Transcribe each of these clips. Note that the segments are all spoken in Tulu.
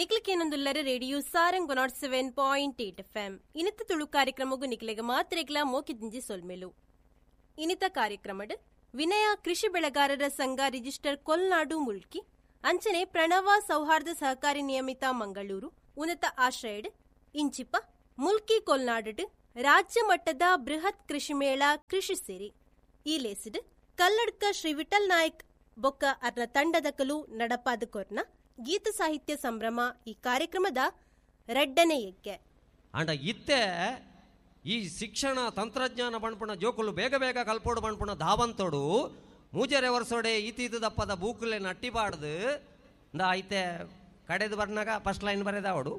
ನಿಕ್ಲಕೇನೊಂದುಲ್ಲರ radio Sarang 107.8 FM. ಇನಿತ ತುಳು ಕಾರ್ಯಕ್ರಮಗು ನಿಕ್ಲೆಗ ಮಾತ್ರೆಗ್ಲ ಮೋಕಿದಿಂಜಿ ಸೊಲ್ಮೆಲು. ಇನಿತ ಕಾರ್ಯಕ್ರಮಡ್ ವಿನಯ ಕೃಷಿ ಬೆಳೆಗಾರರ ಸಂಘ ರಿಜಿಸ್ಟರ್ ಕೊಲ್ನಾಡು ಮುಲ್ಕಿ, ಅಂಚನೆ ಪ್ರಣವ ಸೌಹಾರ್ದ ಸಹಕಾರಿ ನಿಯಮಿತ ಮಂಗಳೂರು ಉನ್ನತ ಆಶ್ರಯಡ್ ಇಂಚಿಪ ಮುಲ್ಕಿ ಕೊಲ್ನಾಡು ರಾಜ್ಯ ಮಟ್ಟದ ಬೃಹತ್ ಕೃಷಿ ಮೇಳ ಕೃಷಿ ಸಿರಿ ಈ ಲೇಸಿಡ್ ಕಲ್ಲಡ್ಕ ಶ್ರೀ ವಿಠಲ್ ನಾಯ್ಕ್ ಬೊಕ್ಕ ಅರ್ನ ತಂಡದಕಲು ನಡಪಾದ ಕೊರ್ನ ಗೀತ ಸಾಹಿತ್ಯ ಸಂಭ್ರಮ ಈ ಕಾರ್ಯಕ್ರಮದ ರಡ್ಡನೆ ಯಜ್ಞೆ. ಅಂಡ ಇತ್ತೆ ಈ ಶಿಕ್ಷಣ ತಂತ್ರಜ್ಞಾನ ಬಣ್ಪುಣ ಜೋಕುಲು ಬೇಗ ಬೇಗ ಕಲ್ಪೋಡು ಬಣ್ಪುಣ ಧಾವಂತೋಡು ಮೂಜರೆ ವರ್ಷೋಡೆ ಇತೀತು ದಪ್ಪದ ಬೂಕುಲೆ ನಟ್ಟಿಬಾಡ್ದು ಇಂದ ಐತೆ ಕಡೆದು ಬರ್ನಾಗ ಫಸ್ಟ್ ಲೈನ್ ಬರೆದಾವಡು,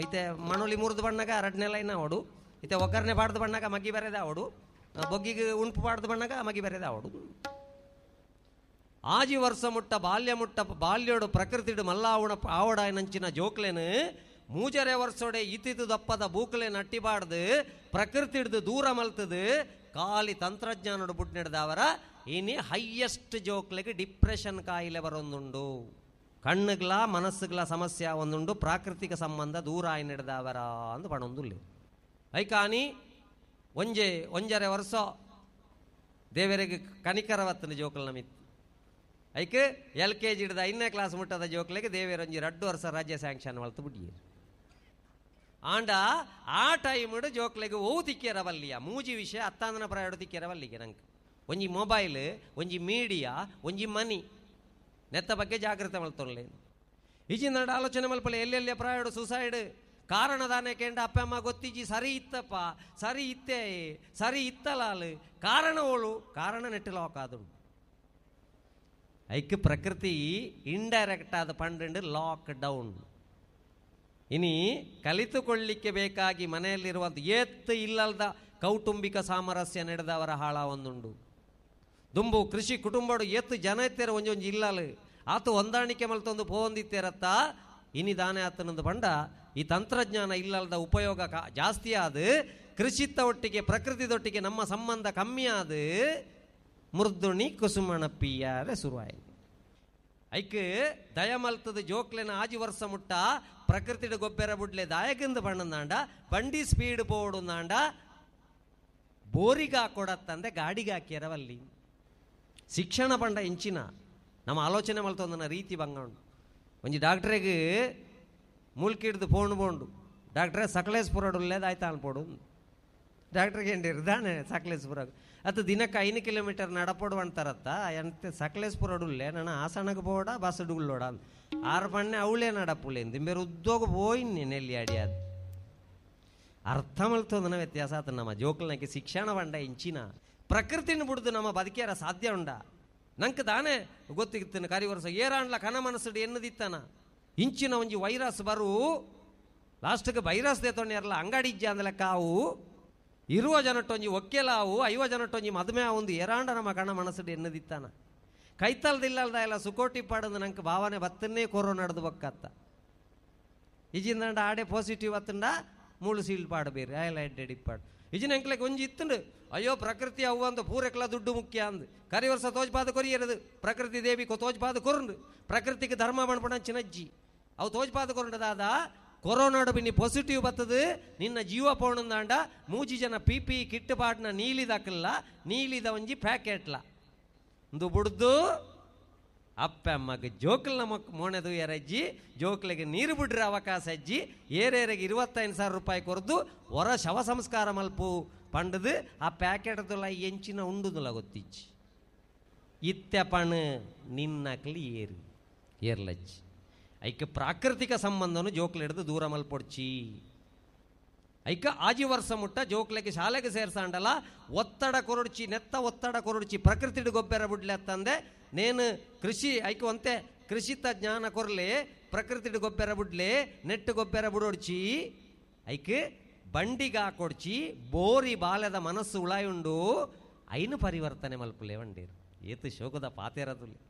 ಐತೆ ಮಣೋಲಿ ಮುರಿದು ಬಣ್ಣಾಗ ಎರಡನೇ ಲೈನ್ ಅವಡು, ಇತ್ತೆ ಒಗ್ಗರಣೆ ಬಾಡ್ದು ಬಣ್ಣಾಗ ಮಗ್ಗಿ ಬರೆದಾವಡು, ಬೊಗ್ಗಿಗೆ ಉಂಪು ಬಾಡ್ದು ಬಣ್ಣಾಗ ಮಗ್ಗಿ ಬರೆದಾವಡು. ಆಜಿ ವರ್ಷ ಮುಟ್ಟ ಬಾಲ್ಯ ಮುಟ್ಟ ಬಾಲ್ಯೋಡು ಪ್ರಕೃತಿಡು ಮಲ್ಲಾವಣ ಆವಡಾಯನಂಚಿನ ಜೋಕ್ಲೇನು ಮೂಜರೆ ವರ್ಷೋಡೆ ಇತಿತು ದಪ್ಪದ ಬೂಕಲೆ ನಟ್ಟಿಬಾಡ್ದು ಪ್ರಕೃತಿಡ್ದು ದೂರ ಮಲ್ತದು ಖಾಲಿ ತಂತ್ರಜ್ಞಾನೋಡು ಬುಡ್ ನಡೆದವರ ಇನಿ ಹೈಯೆಸ್ಟ್ ಜೋಕ್ಲೆಗೆ ಡಿಪ್ರೆಷನ್ ಕಾಯಿಲೆ ಬರೊಂದುಂಡು, ಕಣ್ಣುಗ್ಲ ಮನಸ್ಸುಗ್ಲ ಸಮಸ್ಯೆ ಒಂದುಂಡು, ಪ್ರಾಕೃತಿಕ ಸಂಬಂಧ ದೂರ ಆಯಿ ನಡೆದವರ ಅಂದು ಪಣೊಂದುಲ್ಲೆ. ಐಕಾನಿ ಒಂಜೆ ಒಂಜರೆ ವರ್ಷ ದೇವರಿಗೆ ಕನಿಕರವತ್ತನ ಜೋಕಲ್ ನಮಿತ್ತು. ಐಕ್ ಎಲ್ ಕೆ ಜಿ ಹಿಡ್ದು 5ನೇ ಕ್ಲಾಸ್ ಮುಟ್ಟದ ಜೋಕ್ಲೆಗೆ ದೇವೇರೊಂಜಿ 2 ವರ್ಷ ರಾಜ್ಯ ಸ್ಯಾಂಕ್ಷನ್ ಮಲ್ತು ಬಿಟ್ಟಿಯರು. ಆಂಡ ಆ ಟೈಮ್ಡು ಜೋಕ್ಲೆಗೆ ಓವು ತಿಕ್ಕಿಯರ ಬಲ್ಲಿಯ ಮೂಜಿ ವಿಷಯ ಅತ್ತಾಂದನ ಪ್ರಾಯಡು ತಿಕ್ಕಿಯರ ಬಲ್ಲಿಗೆ ನಂಗೆ ಒಂಜಿ ಮೊಬೈಲ್, ಒಂಜಿ ಮೀಡಿಯಾ, ಒಂಜಿ ಮನಿ ನೆತ್ತ ಬಗ್ಗೆ ಜಾಗೃತೆ ಮಲ್ತೊರ್ಲೆ. ಈಜಿನ ನಡ ಆಲೋಚನೆ ಮಲ್ಪಲೆ ಎಲ್ಲೆಲ್ಲಿ ಪ್ರಾಯಡು ಸುಸೈಡ್ ಕಾರಣ ದಾನೆ ಕೇಂಡ ಅಪ್ಪ ಅಮ್ಮ ಗೊತ್ತಿಜ್ಜಿ, ಸರಿ ಇತ್ತಪ್ಪ ಸರಿ ಇತ್ತೇ ಸರಿ ಇತ್ತಲಾಲು ಕಾರಣ ಓಳು ಕಾರಣ ನೆಟ್ಟು ಲಾಕ್ ಆದುಂಡು. ಐಕ್ ಪ್ರಕೃತಿ ಇಂಡೈರೆಕ್ಟ್ ಆದ ಪಂಡು ಲಾಕ್ ಡೌನ್. ಇನಿ ಕಲಿತುಕೊಳ್ಳಿಕ್ಕೆ ಬೇಕಾಗಿ ಮನೆಯಲ್ಲಿರುವಂಥ ಏತ್ತು ಇಲ್ಲಲ್ದ ಕೌಟುಂಬಿಕ ಸಾಮರಸ್ಯ ನಡೆದವರ ಹಾಳ ಒಂದುಂಡು. ದುಂಬು ಕೃಷಿ ಕುಟುಂಬಡು ಏತ್ತು ಜನ ಇತ್ತೇರ ಒಂಜೊಂಜಿ ಇಲ್ಲಲು ಆತು ಹೊಂದಾಣಿಕೆ ಮಲ್ತೊಂದು ಪೋಂದಿತ್ತೇರತ್ತ ಇನಿ ದಾನೆ ಆತನೊಂದು ಬಂಡ ಈ ತಂತ್ರಜ್ಞಾನ ಇಲ್ಲಲ್ದ ಉಪಯೋಗ ಜಾಸ್ತಿ ಆದ ಕೃಷಿತ್ತ ಒಟ್ಟಿಗೆ ಪ್ರಕೃತಿದೊಟ್ಟಿಗೆ ನಮ್ಮ ಸಂಬಂಧ ಕಮ್ಮಿ ಆದ ಮೃದುಣಿ ಕುಸುಮಣ ಪಿಯಾರೆ ಶುರುವಾಯಿ. ಐಕ್ ದಯಮಲ್ತದ ಜೋಕ್ಲೆನ ಆಜಿ ವರ್ಷ ಮುಟ್ಟ ಪ್ರಕೃತಿಡ ಗೊಬ್ಬರ ಬುಡ್ಲೆ ದಾಯಕಿಂದ ಬಣ್ಣಂದಾಂಡ ಬಂಡಿ ಸ್ಪೀಡ್ ಪೋಡುಂದಾಂಡ ಬೋರಿಗಾ ಕೊಡತ್ತಂದೆ ಗಾಡಿಗೆ ಹಾಕ್ಯರವಲ್ಲಿ. ಶಿಕ್ಷಣ ಪಂಡ ಇಂಚಿನ ನಮ್ಮ ಆಲೋಚನೆ ಮಲ್ತೊಂದನ ರೀತಿ ಬಂಗ ಉಂಡು. ಒಂಜಿ ಡಾಕ್ಟ್ರಿಗೆ ಮೂಲ್ಕಿಡ್ದು ಫೋನ್ ಬೋಂಡು ಡಾಕ್ಟ್ರೇ ಸಕಲೇಶ್ಪುರಡುಲ್ಲೇದು ಆಯ್ತಾ ಅನ್ಪೋಡು. ಡಾಕ್ಟ್ರಿಗೆ ಏನಿರ್ದಾನೆ ಸಕಲೇಶ್ಪುರ ಅದು ದಿನಕ್ಕೆ 5 ಕಿಲೋಮೀಟರ್ ನಡಪೋಡು ಅಂತಾರತ್ತ ಎಂತ ಸಕಲೇಶ್ಪುರಡುಲ್ಲೆ ನಾನು ಹಾಸನಕ್ಕೆ ಬೋಡ ಬಸ್ ಡುಳ್ಳೋಡ ಆರು ಪಣ್ಣೆ ಅವಳೇ ನಡಪುಲೆ ದಿಂಬೇರು ಉದ್ಯೋಗ ಪೋಯಿನ್ನೆ ನೆಲ್ಲಿ ಅಡಿಯಾದ ಅರ್ಥ ಮಲ್ತೊಂದನ ವ್ಯತ್ಯಾಸ ಆತ. ನಮ್ಮ ಜೋಕ್ಲನಕ್ಕೆ ಶಿಕ್ಷಣ ಬಂಡ ಇಂಚಿನ ಪ್ರಕೃತಿನ ಬಿಡ್ದು ನಮ್ಮ ಬದುಕಿಯಾರ ಸಾಧ್ಯ ಉಂಡ. ನಂಗೆ ತಾನೇ ಗೊತ್ತಿತ್ತೇನೆ ಕರಿ ವರ್ಷ ಏರಾಂಡ್ಲ ಕನ ಮನಸ್ಸುಡು ಎನ್ನದಿತ್ತಾನ ಇಂಚಿನ ಒಂಜಿ ವೈರಸ್ ಬರು ಲಾಸ್ಟ್ಗೆ ವೈರಸ್ ದೇತೊಂಡಿರಲ್ಲ ಅಂಗಡಿ ಇಜ್ಜ ಅಂದಲೆ ಕಾವು ಇರುವ ಜನಟ್ಟೊಂಜಿ ಒಕ್ಕೆಲಾವು 50 ಜನಟ್ಟೊಂಜಿ ಮದುವೆ ಒಂದು ಏರಾಂಡ ನಮ್ಮ ಕಣ ಮನಸ್ಸುಡು ಎನ್ನದಿತ್ತಾನ ಕೈತಲ್ದಿಲ್ಲಲ್ದ ಎಲ್ಲ ಸುಕೋಟಿ ಪಾಡಂದು ನಂಗೆ ಭಾವನೆ ಬತ್ತನ್ನೇ ಕೊರೋನಾ ನಡೆದು ಬಕ್ಕತ್ತ ಇಜಿಂದಂಡ ಆಡೆ ಪಾಸಿಟಿವ್ ಅತ್ತಂಡ ಮೂಳು ಸೀಲ್ ಪಾಡಬೇರಿ ಆಯಲ್ಲ ಎಡ್ಡೆಡಿ ಪಾಡು ಇಜಿನ ಅಂಕ್ಲೆಗೆ ಒಂಜಿ ಇತ್ತಂಡು ಅಯ್ಯೋ ಪ್ರಕೃತಿ ಅವು ಅಂದು ಪೂರೆಕ್ಲ ದುಡ್ಡು ಮುಖ್ಯ ಅಂದು ಕರಿ ವರ್ಷ ತೋಜ್ಪಾದ ಕೊರಿಯರದು ಪ್ರಕೃತಿ ದೇವಿ ತೋಜ್ಪಾದ ಕೊರಂಡು ಪ್ರಕೃತಿಗೆ ಧರ್ಮ ಮಣ್ಪಣ ಚಿನಜ್ಜಿ ಅವು ತೋಜ್ಪಾದ ಕೊರಂಡದಾದ ಕೊರೋನಾಡು ಬಿನ್ನಿ ಪಾಸಿಟಿವ್ ಬರ್ತದೆ ನಿನ್ನ ಜೀವ ಪೋಣಂದಾಂಡ ಮೂಜಿ ಜನ ಪಿ ಪಿ ಕಿಟ್ಟು ಪಾಟ್ನ ನೀಲಿದಾಕಲ್ಲ ನೀಲಿದ ಒಂಜಿ ಪ್ಯಾಕೆಟ್ಲ ಒಂದು ಬುಡ್ದು ಅಪ್ಪ ಅಮ್ಮಗೆ ಜೋಕಲ್ನ ಮಕ್ ಮೋಣೆದು ಎರಜ್ಜಿ ಜೋಕ್ಲಿಗೆ ನೀರು ಬಿಡ್ರೆ ಅವಕಾಶ ಅಜ್ಜಿ ಏರೇರಿಗೆ 25,000 ರೂಪಾಯಿ ಕೊರದು ಹೊರ ಶವ ಸಂಸ್ಕಾರ ಮಲ್ಪು ಪಂಡದು ಆ ಪ್ಯಾಕೆಟ್ದುಲ ಎಂಚಿನ ಉಂಡುದುಲ ಗೊತ್ತಿಜ್ಜಿ ಇತ್ತೆ ಪಣು ನಿನ್ನಕ್ಲಿ ಏರು ಏರ್ಲಜ್ಜಿ ಐಕ ಪ್ರಾಕೃತಿಕ ಸಂಬಂಧನು ಜೋಕ್ಲು ಹಿಡಿದು ದೂರ ಮಲ್ಪೊಡ್ಚಿ. ಐಕ ಆಜಿ ವರ್ಷ ಮುಟ್ಟ ಜೋಕ್ಲೆಗೆ ಶಾಲೆಗೆ ಸೇರ್ಸಾಂಡಲ ಒತ್ತಡ ಕೊರಡ್ಚಿ ನೆತ್ತ ಒತ್ತಡ ಕೊರಡ್ಚಿ ಪ್ರಕೃತಿಡು ಗೊಬ್ಬರ ಬುಡ್ಲೆ ನೇನು ಕೃಷಿ ಐಕ ಒಂತೆ ಕೃಷಿತ ಜ್ಞಾನ ಕೊರ್ಲೆ ಪ್ರಕೃತಿಡು ಗೊಬ್ಬರ ಬುಡ್ಲೆ ನೆಟ್ಟು ಗೊಬ್ಬರ ಬುಡೊಡ್ಚಿ ಐಕ್ ಬಂಡಿಗೆ ಹಾಕೊಡ್ಚಿ ಬೋರಿ ಬಾಲ್ಯದ ಮನಸ್ಸು ಉಳಾಯುಂಡು ಐನು ಪರಿವರ್ತನೆ ಮಲ್ಪುಲೆ ವಂಡೀರು ಏತು ಶೋಕದ ಪಾತೇರದುಲ್ಲೆ.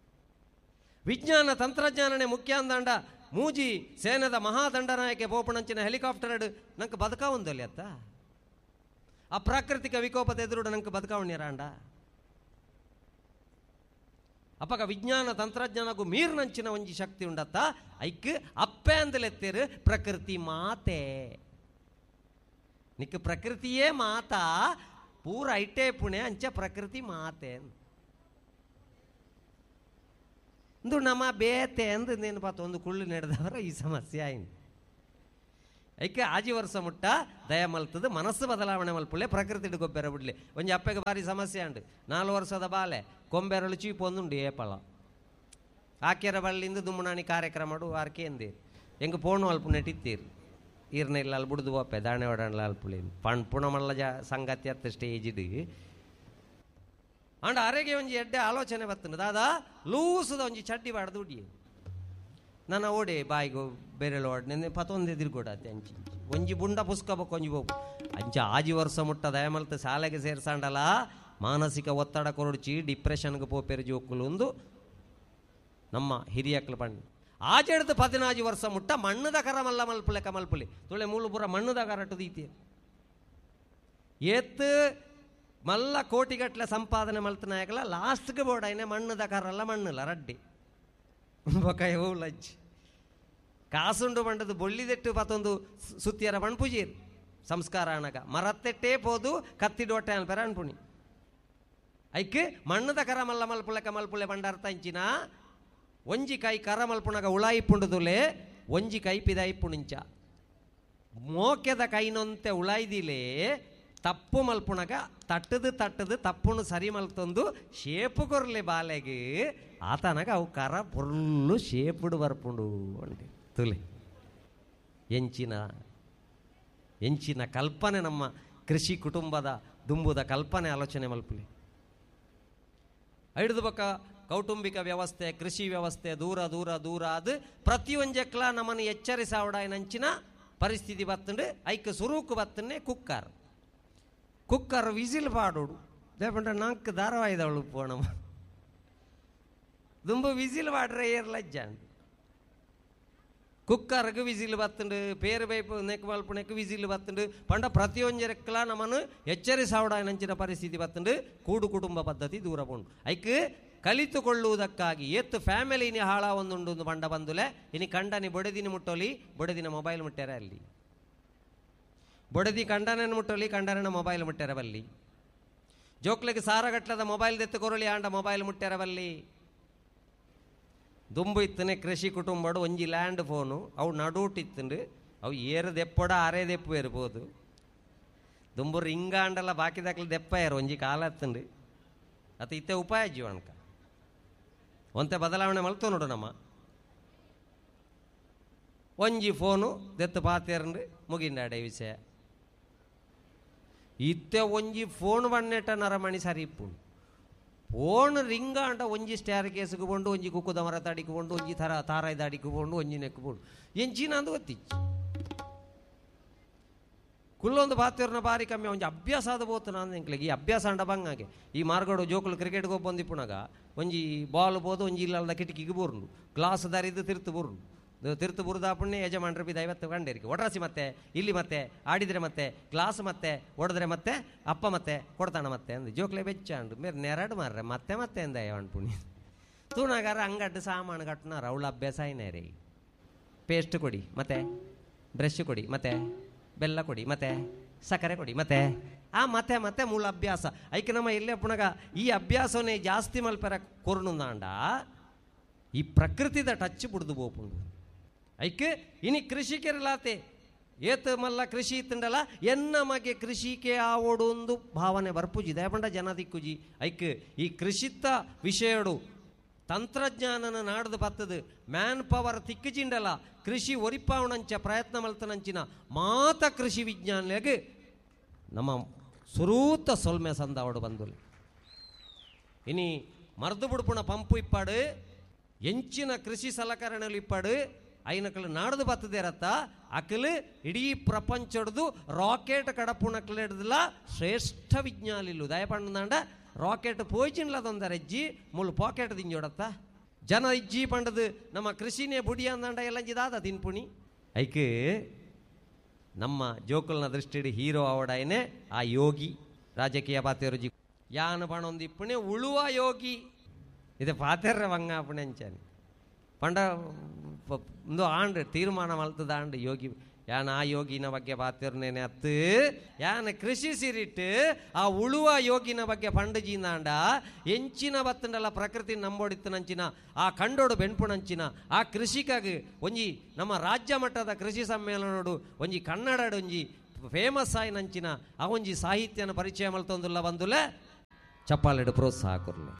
ವಿಜ್ಞಾನ ತಂತ್ರಜ್ಞಾನನೇ ಮುಖ್ಯ ಅಂದಾಂಡ ಮೂಜಿ ಸೇನದ ಮಹಾದಂಡನಾಯಕೆ ಪೋಪಣಂಚಿನ ಹೆಲಿಕಾಪ್ಟರ್ ನಂಗೆ ಬದುಕಾವೊಂದಲ್ಲಿ ಅತ್ತ ಆ ಪ್ರಾಕೃತಿಕ ವಿಕೋಪದ ಎದುರುಡು ನಂಗೆ ಬದುಕಾವಣ್ಯರಾಂಡ. ಅಪಗ ವಿಜ್ಞಾನ ತಂತ್ರಜ್ಞಾನಗೂ ಮೀರ್ನಂಚಿನ ಒಂಜಿ ಶಕ್ತಿ ಉಂಡತ್ತ ಐಕ್ ಅಪ್ಪೆ ಅಂದಲೆತ್ತೇರು ಪ್ರಕೃತಿ ಮಾತೆ. ನಿಕ್ ಪ್ರಕೃತಿಯೇ ಮಾತಾ ಪೂರ ಐಟೇ ಪುಣೆ ಅಂಚ ಪ್ರಕೃತಿ ಮಾತೆ ಇಂದು ನಮ್ಮ ಬೇತೆ ಅಂದು ನೇನು ಒಂದು ಕುಳ್ಳು ನಡೆದವರ ಈ ಸಮಸ್ಯೆ ಆಯ್ತು. ಐಕೆ ಆಜಿ ವರ್ಷ ಮುಟ್ಟ ದಯ ಮಲ್ತದ ಮನಸ್ಸು ಬದಲಾವಣೆ ಮಲ್ಪುಳ್ಳೆ ಪ್ರಕೃತಿ ಗೊಬ್ಬರ ಬಿಡ್ಲಿ. ಒಂಜಿ ಅಪ್ಪಗೆ ಭಾರಿ ಸಮಸ್ಯೆ ಅಂಡು 4 ವರ್ಷದ ಬಾಲೆ ಕೊಂಬೆರಳು ಚೀಪು ಒಂದುಂಡು ಏಪಳ ಆಕೆರ ಬಳ್ಳಿಂದ ದುಮ್ಮನಾಣಿ ಕಾರ್ಯಕ್ರಮ ಆರ್ಕೆ ಎಂದೀರು ಹೆಂಗೆ ಫೋನು ಅಲ್ಪ ನೆಟ್ಟಿತ್ತೀರು ಈರ್ನ ಇಲ್ಲ ಅಲ್ಲಿ ಬುಡ್ದು ಬೋಪೆ ದಾಣೆ ಒಡಣ್ಲ ಅಲ್ಪುಳಿ ಪಣ್ ಪುಣಮಲ್ಲ ಜ ಸಂಗತಿ ಅತ್ತ ಸ್ಟೇಜಿಡ್ ಅಂಡ ಅರೆಗೆ ಒಂಜಿ ಎಡ್ಡೆ ಆಲೋಚನೆ ಬತ್ತಂಡು ದಾದಾ ಲೂಸದ ಒಂಜಿ ಚಡ್ಡಿ ಬಾಡ್ದು ಉಡಿಯೆ ನನ್ನ ಓಡೆ ಬಾಯಿಗೋ ಬೇರೆಲ್ಲ ಓಡನೆ ಪತೊಂದು ಎದುರುಗೊಡತ್ತೆ ಅಂಚಿ ಒಂಜಿ ಬುಂಡ ಪುಸ್ಕಬೇಕು ಒಂಜಿ ಬೋಪು ಅಂಚ ಆಜಿ ವರ್ಷ ಮುಟ್ಟ ದಯಮಲ್ತ ಶಾಲೆಗೆ ಸೇರ್ಸಾಂಡಲ ಮಾನಸಿಕ ಒತ್ತಡ ಕೊರಡ್ಚಿ ಡಿಪ್ರೆಷನ್ಗೆ ಪೋಪೆರು ಜೋಕುಲು ಒಂದು ನಮ್ಮ ಹಿರಿಯಕ್ಲು ಪಂಡು ಆಜೆಡ್ದು 14 ವರ್ಷ ಮುಟ್ಟ ಮಣ್ಣದ ಕರ ಮಲ್ಲ ಮಲ್ಪುಲೆ ಕಮಲ್ಪುಲಿ ತುಳೆ ಮೂಲು ಪೂರ ಮಣ್ಣದ ಕರಟು ದೀತಿ ಏತ್ ಮಲ್ಲ ಕೋಟಿಗಟ್ಟಲೆ ಸಂಪಾದನೆ ಮಲ್ತನಾಯಕಲ ಲಾಸ್ಟ್ಗೆ ಬೋಡಾಯ್ನೆ ಮಣ್ಣದ ಕರಲ್ಲ ಮಣ್ಣಲ್ಲ ರಡ್ಡಿ ಬೊಕ ಲಜ್ಜಿ ಕಾಸುಂಡು ಬಂಡದು ಬೊಳ್ಳಿದೆಟ್ಟು ಪತ್ತೊಂದು ಸುತ್ತಿಯರ ಪಣ್ಪುಜೀರ್ ಸಂಸ್ಕಾರ ಅಣಗ ಮರತ್ತೆಟ್ಟೇ ಪೋದು ಕತ್ತಿಡೋಟೆ ಅನ್ಪೆರ ಅನ್ಪುಣಿ ಐಕ್ ಮಣ್ಣದ ಕರ ಮಲ್ಲ ಮಲ್ಪುಲೆ ಕಮಲ್ಪುಲೆ ಬಂಡಾರ್ತ ಇಂಚಿನ ಒಂಜಿ ಕೈ ಕರ ಮಲ್ಪುಣಗ ಉಳಾಯಿಪುಂಡುದುಲೆ ಒಂಜಿ ಕೈ ಪಿದಾಯಿಪುಣಿಂಚ ಮೋಕೆದ ಕೈನೊಂತೆ ಉಳಾಯ್ದಿಲೆ ತಪ್ಪು ಮಲ್ಪುಣಗ ತಟ್ಟದು ತಟ್ಟದು ತಪ್ಪುನು ಸರಿ ಮಲ್ತೊಂದು ಶೇಪು ಕೊರ್ಲೆ ಬಾಲೆಗೆ ಆತನಗ ಅವು ಕರ ಪೊರ್ಲು ಶೇಪುಡು ಬರ್ಪುಂಡು ಅಂడి ತುಲೆ ಎಂಚಿನ ಎಂಚಿನ ಕಲ್ಪನೆ ನಮ್ಮ ಕೃಷಿ ಕುಟುಂಬದ ದುಂಬುದ ಕಲ್ಪನೆ ಆಲೋಚನೆ ಮಲ್ಪುಲಿ. ಐಡ್ದು ಬೊಕ್ಕ ಕೌಟುಂಬಿಕ ವ್ಯವಸ್ಥೆ ಕೃಷಿ ವ್ಯವಸ್ಥೆ ದೂರ ದೂರ ದೂರ ಅದು ಪ್ರತಿಯೊಂಜಕ್ಲ ನಮ್ಮನ್ನು ಎಚ್ಚರಿಸಾವಡಾಯನಂಚಿನ ಪರಿಸ್ಥಿತಿ ಬತ್ತಂಡು ಐಕ್ ಸುರೂಕು ಬತ್ತನ್ನೇ ಕುಕ್ಕರ್ ಕುಕ್ಕರ್ ವಿಸಿಲ್ ಪಾಡೋಡು ದೇಪಂಡ ನಾಲ್ಕು ಧಾರಾವಾಹಿದವಳು ಪೋಣಮ್ಮ ದುಂಬು ವಿಸಿಲ್ ಪಾಡ್ರೆ ಏರ್ ಲಜ್ಜಾಂಡು ಕುಕ್ಕರ್ಗೆ ವಿಸಿಲ್ ಬತ್ತಂಡು ಪೇರು ಬೈಪು ನೆಕ್ ಮಲ್ಪುನೆಕ್ ವಿಸಿಲ್ ಬತ್ತಂಡು ಪಂಡ ಪ್ರತಿಯೊಂಜರೆಕ್ಲ ನಮ್ಮನ್ನು ಎಚ್ಚರಿಸಾವಡಾಯನಂಚಿನ ಪರಿಸ್ಥಿತಿ ಬತ್ತಂಡು ಕೂಡು ಕುಟುಂಬ ಪದ್ಧತಿ ದೂರ ಪೋಂಡು ಐಕ್ ಕಲಿತುಕೊಳ್ಳುವುದಕ್ಕಾಗಿ ಏತ್ತು ಫ್ಯಾಮಿಲಿನಿ ಹಾಳ ಒಂದುಂಡು ಬಂಡ ಬಂದುಲೆ ಇನಿ ಕಂಡನಿ ಬೊಡೆದಿನ ಮುಟ್ಟೋಲಿ ಬೊಡೆದಿನ ಮೊಬೈಲ್ ಮುಟ್ಟ್ಯಾರ ಅಲ್ಲಿ ಬೊಡೆದಿ ಕಂಡನನ್ನು ಮುಟ್ಟೋಲಿ ಕಂಡನ ಮೊಬೈಲ್ ಮುಟ್ಟ್ಯಾರ ಬಲ್ಲಿ ಜೋಕ್ಲಿಗೆ ಸಾರಗಟ್ಲದ ಮೊಬೈಲ್ ದೆತ್ತು ಕೊರಳಿ ಆಂಡ ಮೊಬೈಲ್ ಮುಟ್ಟ್ಯಾರ ಬಲ್ಲಿ ದುಂಬು ಇತ್ತನೆ ಕೃಷಿ ಕುಟುಂಬಡು ಒಂಜಿ ಲ್ಯಾಂಡ್ ಫೋನು ಅವು ನಡುಟಿತ್ತಂಡು ಅವು ಏರು ದೆಪ್ಪೊಡ ಅರೆ ದೆಪ್ಪು ಇರ್ಬೋದು ದುಂಬು ರಿಂಗಾಂಡಲ್ಲ ಬಾಕಿದಾಕ್ಲಿ ದೆಪ್ಪ ಏರು ಒಂಜಿ ಕಾಲ ಹತ್ತಂಡು ಅತ್ತ ಇತ್ತೆ ಉಪಾಯ ಜೀವನಕ ಒಂತೆ ಬದಲಾವಣೆ ಮಲ್ತು ನೋಡು ನಮ್ಮ ಒಂಜಿ ಫೋನು ದೆತ್ತು ಪಾತೇರಂಡು ಮುಗಿಂಡಾಡೆ ವಿಷಯ ಇತ್ತೆ ಒಂಜಿ ಫೋನ್ ಬಣ್ಣೆಟ ನರಮಣಿ ಸರಿ ಇಪ್ಪುಂಡು ಫೋನ್ ರಿಂಗಾಂಡ ಒಂಜಿ ಸ್ಟ್ಯಾರ್ ಕೇಸ್ಗೆ ಕೊಂಡು ಒಂಜಿ ಕುಕ್ಕುದ ಮರ ತಡಿಗೆ ಕೊಂಡು ಒಂಜಿ ಥರ ತಾರಾಯ್ದ ಅಡಿಗೆ ಕೊಂಡು ಒಂಜಿ ನೆಕ್ಕು ಕೊಂಡು ಎಂಚಿನ ಅಂದು ಗೊತ್ತಿಚ್ಚು ಕುಲ್ಲೊಂದು ಬಾತಿರ್ನ ಬಾರಿ ಕಮ್ಮಿ ಒಂಜಿ ಅಭ್ಯಾಸ ಆದ ಬೋತು ನಾನು ಎಂಕ್ಲೆಗೆ ಈ ಅಭ್ಯಾಸ ಅಂಡ ಬಂಗಾಗೆ ಈ ಮಾರ್ಗಡು ಜೋಕುಲು ಕ್ರಿಕೆಟ್ಗೆ ಬಂದಿಪ್ಪುನಾಗ ಒಂಜಿ ಬಾಲ್ ಬೋದು ಒಂಜಿ ಇಲ್ಲದ ಕಿಟಕಿಗೆ ಬೋರ್ನು ಗ್ಲಾಸ್ ದಾರಿದ್ದು ತಿರ್ತು ಬೋರ್ನು ತಿರ್ತು ಬುರುದಾಪುಣ್ಣೆ ಯಜಮಾನ್ರ ಬಿದ್ದು 50 ಗಂಡೇರಿಗೆ ಒಡರಸಿ ಮತ್ತೆ ಇಲ್ಲಿ ಮತ್ತೆ ಆಡಿದರೆ ಮತ್ತೆ ಗ್ಲಾಸ್ ಮತ್ತೆ ಒಡೆದ್ರೆ ಮತ್ತೆ ಅಪ್ಪ ಮತ್ತೆ ಕೊಡ್ತಾಣ ಮತ್ತೆ ಅಂದು ಜೋಕ್ಲೆ ಬೆಚ್ಚ ಅಂಡು ಮೇರೆ ನೆರಡು ಮಾರ್ರೆ ಮತ್ತೆ ಮತ್ತೆ ಅಂದ ಪುಣ್ಯ ತೂನಾಗಾರ ಅಂಗಡ್ಡು ಸಾಮಾನು ಕಟ್ಟನಾರ ಅವಳ ಅಭ್ಯಾಸ ಐನೇ ರೀ ಪೇಸ್ಟ್ ಕೊಡಿ ಮತ್ತೆ ಬ್ರಷ್ ಕೊಡಿ ಮತ್ತೆ ಬೆಲ್ಲ ಕೊಡಿ ಮತ್ತೆ ಸಕ್ಕರೆ ಕೊಡಿ ಮತ್ತೆ ಆ ಮತ್ತೆ ಮತ್ತೆ ಮೂಲ ಅಭ್ಯಾಸ ಐಕೆ ನಮ್ಮ ಎಲ್ಲೇ ಪುಣಗ ಈ ಅಭ್ಯಾಸವನ್ನೇ ಜಾಸ್ತಿ ಮಲ್ಪೆರ ಕೊರ್ನುಂದಾಂಡ ಈ ಪ್ರಕೃತಿದ ಟಚ್ ಬಿಡ್ದು ಬೋಪುಂಡು ಐಕೆ ಇನಿ ಕೃಷಿಕೆರಲಾತೆ ಏತ್ ಮಲ್ಲ ಕೃಷಿ ಇತ್ತಂಡಲ್ಲ ಎನ್ನ ಮಗೆ ಕೃಷಿಕೆ ಆವೋಡು ಒಂದು ಭಾವನೆ ಬರ್ಪುಜಿ ದಯಪಂಡ ಜನ ದಿಕ್ಕುಜಿ ಐಕ್ ಈ ಕೃಷಿತ್ತ ವಿಷಯಡು ತಂತ್ರಜ್ಞಾನನ ನಾಡ್ದು ಬತ್ತದು ಮ್ಯಾನ್ ಪವರ್ ತಿಕ್ಕುಜಿಂಡಲ್ಲ ಕೃಷಿ ಒರಿಪಾವಣಂಚ ಪ್ರಯತ್ನ ಮಲ್ತನಂಚಿನ ಮಾತ ಕೃಷಿ ವಿಜ್ಞಾನಿಗೆ ನಮ್ಮ ಸುರೂತ ಸೊಲ್ಮೆ ಸಂದಾವಡು ಬಂದುಲಿ. ಇನಿ ಮರ್ದು ಬುಡ್ಪುಣ ಪಂಪು ಇಪ್ಪಾಡು ಎಂಚಿನ ಕೃಷಿ ಸಲಕರಣೆలు ಇಪ್ಪಾಡು ಐನಕಲು ನಾಡ್ದು ಬತ್ತದೇರತ್ತ ಅಕಲು ಇಡೀ ಪ್ರಪಂಚಡ್ದು ರಾಕೆಟ್ ಕಡಪುಣಕ್ಲೆಡ್ದಲ ಶ್ರೇಷ್ಠ ವಿಜ್ಞಾನಿಲು ದಯಪಂಡ ರಾಕೆಟ್ ಪೋಯ್ಚಿನ್ಲದೊಂದರ ಇಜ್ಜಿ ಮುಳ್ಳು ಪಾಕೆಟ್ ದಿಂಜೋಡತ್ತ ಜನ ಇಜ್ಜಿ ಪಂಡದು ನಮ್ಮ ಕೃಷಿನೇ ಬುಡಿ ಅಂದಂಡ ಎಲ್ಲ ತಿನ್ಪುಣಿ ಐಕ್ ನಮ್ಮ ಜೋಕುಲ್ನ ದೃಷ್ಟಿಡ್ ಹೀರೋ ಅವಡಾಯನೆ ಆ ಯೋಗಿ ರಾಜಕೀಯ ಪಾತೆರುಜಿ ಯಾನು ಪಣೊಂದಿಪ್ಪುಣೆ ಉಳುವ ಯೋಗಿ. ಇದು ಪಾತೆರ್ರೆ ಬಂಗಾಪುಣೆಂಚನಿ ಪಂಡ ಒಂದು ಆಂಡ್ ತೀರ್ಮಾನ ಮಲ್ತದ ಆಂಡ್ ಯೋಗಿ ಯಾನ ಆ ಯೋಗಿನ ಬಗ್ಗೆ ಪಾತಿರ್ನೇನೆ ಅತ್ತು ಯಾನ ಕೃಷಿ ಸಿರಿಟ್ಟು ಆ ಉಳುವ ಯೋಗಿನ ಬಗ್ಗೆ ಪಂಡಜಿಂದಾಂಡ ಎಂಚಿನ ಬತ್ತಂಡಲ ಪ್ರಕೃತಿ ನಂಬೋಡಿತ್ತು ನಂಚಿನ ಆ ಕಂಡೋಡು ಬೆನ್ಪುನಂಚಿನ ಆ ಕೃಷಿಕಾಗಿ ಒಂಜಿ ನಮ್ಮ ರಾಜ್ಯ ಮಟ್ಟದ ಕೃಷಿ ಸಮ್ಮೇಳನೋಡು ಒಂಜಿ ಕನ್ನಡಡು ಒಂಜಿ ಫೇಮಸ್ ಆಯಿ ನಂಚಿನ ಆ ಒಂಜಿ ಸಾಹಿತ್ಯನ ಪರಿಚಯ ಮಲ್ತೊಂದುಲ್ಲ ಬಂದುಲೆ ಚಪ್ಪಾಲೆಡು ಪ್ರೋತ್ಸಾಹ ಕೊರ್ಲೆ.